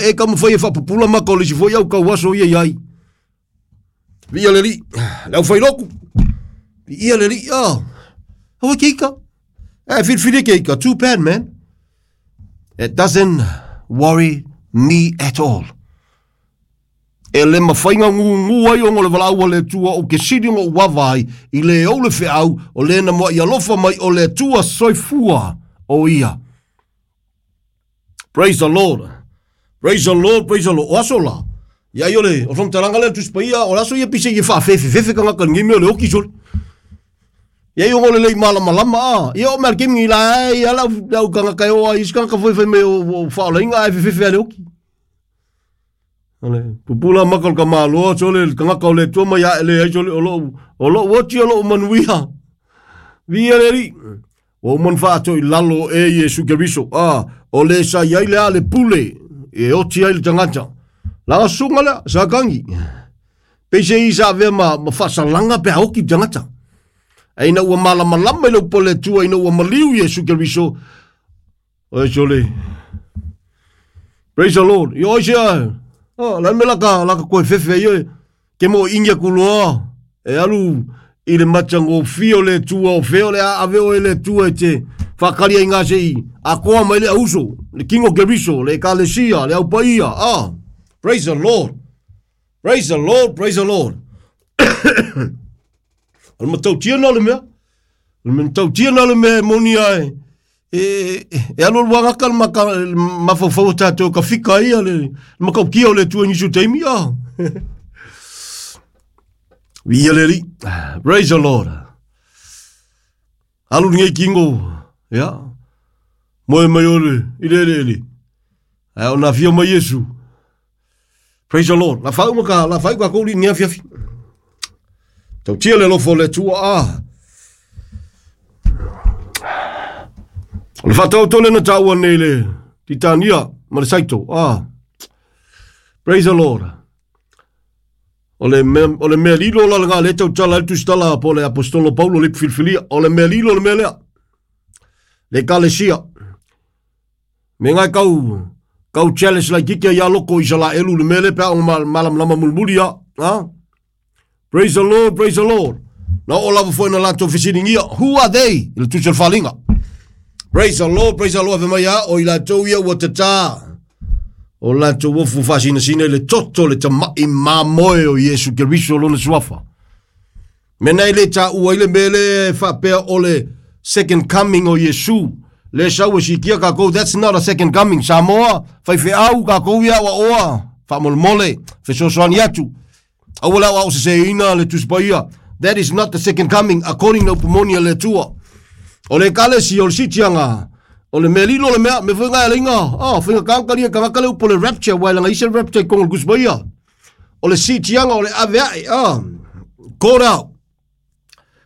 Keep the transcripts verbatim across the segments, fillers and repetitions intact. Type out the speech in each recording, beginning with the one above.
E taumafai e faapupula maka o le isi foi au tauaso ia iai. Viia le Alii, le aufailotu. Viia le Alii, ah. Aua ke ika. Eh, filifili ke ika. Too bad, man. It doesn't worry me at all. E le mafai ona gugu ai ona o le valaau a le Atua ou te sili ona ou vaavaai i le ou le feau o le na mua'i alofa mai o le Atua soifua o ia. Praise the Lord. Praise the Lord, praise the Lord. O aso la. Ia ai o le o faamatalaga lea le Tusi Paia, o le aso ia pise ia faafefefefe tagata i lenei mea o le oki sole. Ia ai ona o le lei malamalama a. Ia o mea le kemi la ai ala au tagata e o ai isi tagata foi fai mai o faaolaina ae fefefe a le oki. Ale pupula maka o le tamaloa sole le tagata o le Atua mai ae le ai sole o lou o lou oti o lou manuia. Viia le Alii. Ua uma ona faato'i lalo e Iesu Keriso, a o le sa i ai le a le pule e oti ai le tagata. Laga susuga lea, sa kagi. Peisei sa avea ma, ma faasalaga pe a oti le tagata. Ae ina ua malamalama i le upu a le Atua ina ua maliu Iesu Keriso, oe sole. Praise the Lord. Io oi sea, oh, la me laka, laka koe fefe ai oe. Ke mo ingi aku loa, e alu i le matagofie o le Atua o fea o le a ave oe e le Atua e te faakali ai ngā sei akoa mai le auso, le King o Keriso, le Ekalesia, le Aupaia. Ah, praise the Lord. Praise the Lord, praise the Lord. O le matautia na o le mea. O le matautia na o le mea e moni ai. E, e alu alu agaka le maka, mafaufau o tātou ka fika ia le makaukia o le Atua i nisi o taimi. Ah. Viia le Alii. Praise the Lord. Alu lenei kingo. Ia. Moe mai ole i le eleele. Ae ona afio mai Iesu. Praise the Lord. La whau ka, la whau ka kouri ni afiafi. Tautia le alofa o le Atua. Ah. O le whatautole na tāua nei le Titania ma le Saito. Ah. Praise the Lord. O le mea, o le mea lilo la langa le tautala le tusitala po le apostolo Paulo le filifilia. O le mea lilo le mea lea. Le ekalesia. Me ngai kau, kau challenge lai kike ia loko i sala elu le mea le pea o malamalama mulimuli ia. Ha? Praise the Lord, praise the Lord. Na o lava foi na latou fesilingia. Who are they? I le tusi o le faaaliga. Praise the Lord, praise the Lord. Ave mai a o i latou ia ua tatā. O latou ofu faasinasina i le toto le tama'i mamoe o Iesu Keriso lona suafa. Mena i le tāua i le mea le faapea o le second coming o Iesu. Le sau e sikia kākou, that's not a second coming. Samoa, faifeau kākou ia ua oa, faamolemole, fesoasoani atu. Aua le aoao seseina le Tusi Paia. That is not the second coming according na upu moni a le Atua. O le ekalesia o le sitiaga, o le mea lilo o le mea, me foi ngai alaiga, ah, faiga kākalia tagata le upu o le rapture, ua e laga isi le rapture i kongo o le Tusi Paia. O le sitiaga o le ave ae, ah, called out.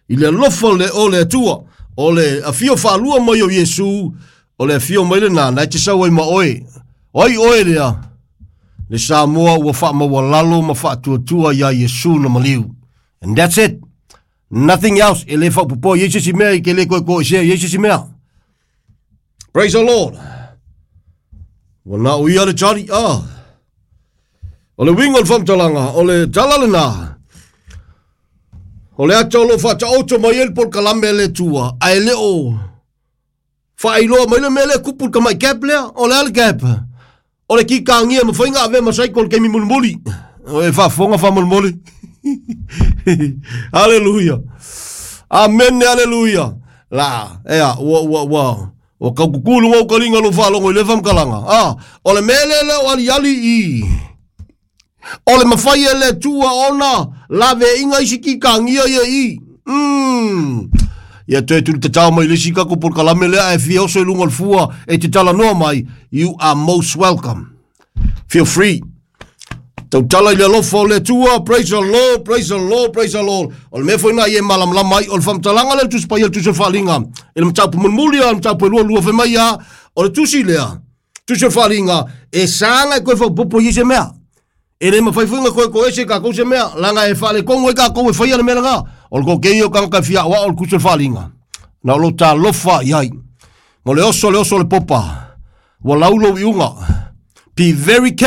I le alofa le o le Atua, o le afio faalua mai o Iesu, o le afio mai lena, na e te sau ai ma oe. O ai oe lea, le Samoa ua faamaualalo ma faatuatua iā Iesu na maliu. And that's it. Nothing else. E le faapopoa i ai se isi mea i ke le koekoe sea i ai se isi mea. Praise the Lord. Ua na o ia le tali. Ah. O le uiga o le faamatalaga, o le tala lena. O le ata o lo o faataoto mai ai le polokalame a le Atua, ae le o faailoa mai le mea lea kupu le tamai gap lea. O le a le gap? O le kikāgia e mafai ona avea ma cycle i le taimi mulimuli. O e faafofoga faamolemole. Haleluia. Amene, aleluia. La, ea, ua, ua, ua, ua tau kukulu luga o taliga lou faalogo i lea faamatalaga. Ah, o le mea lea lea o aliali i. O le mafai e le Atua ona laveaiga isi kikāgia ia i. Mm. Ia toe tuli tatao mai le isi tatou polokalame lea ae fia oso i luga o le fua e te talanoa mai, you are most welcome. Feel free. Tautala i le alofa o le Atua, praise the Lord, praise the Lord, praise the Lord. O le mea foi na i e malamalama ai, o le faamatalaga lea le Tusi Paia, le Tusi o le Faaaliga. I le mataupu mulimuli, a le mataupu e lua lua fai mai ia, o le tusi lea, Tusi o le Faaaliga, e saga e koe faaopoopo i ai se mea. E le mafai foi ona koekoe ese kākou se mea, leaga e faaletonu ai kākou e faia le mea lena. O le toatele o tagata e fia aoao le Tusi o le Faaaliga. Na o lou talofa i ai. Mo le oso le oso o le popa, ua lau lou iuga. Be very